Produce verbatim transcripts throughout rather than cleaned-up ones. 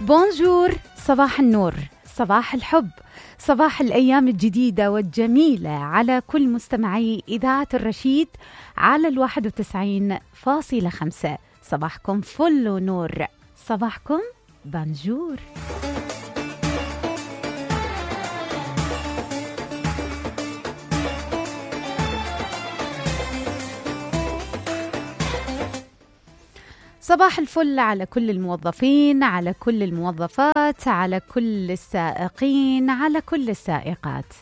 بونجور، صباح النور، صباح الحب، صباح الأيام الجديدة والجميلة على كل مستمعي إذاعة الرشيد على الواحد وتسعين فاصلة خمسة. صباحكم فل ونور، صباحكم بونجور. صباح الفل على كل الموظفين، على كل الموظفات، على كل السائقين، على كل السائقات،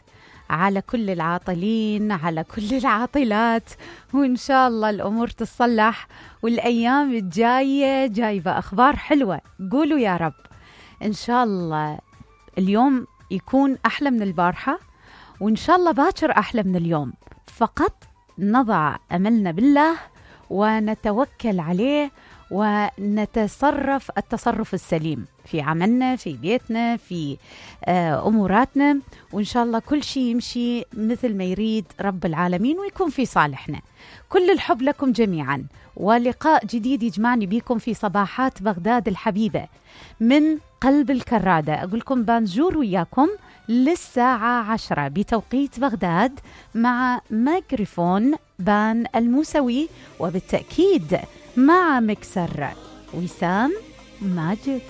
على كل العاطلين، على كل العاطلات، وإن شاء الله الأمور تصلح والأيام الجاية جايبة أخبار حلوة. قولوا يا رب إن شاء الله اليوم يكون أحلى من البارحة، وإن شاء الله باكر أحلى من اليوم. فقط نضع أملنا بالله ونتوكل عليه ونتصرف التصرف السليم في عملنا، في بيتنا، في أموراتنا، وإن شاء الله كل شيء يمشي مثل ما يريد رب العالمين ويكون في صالحنا. كل الحب لكم جميعا، ولقاء جديد يجمعني بيكم في صباحات بغداد الحبيبة من قلب الكرادة. أقولكم بانجور وياكم للساعة عشرة بتوقيت بغداد مع ميكروفون بان الموسوي، وبالتأكيد مع مكسر وسام ماجد.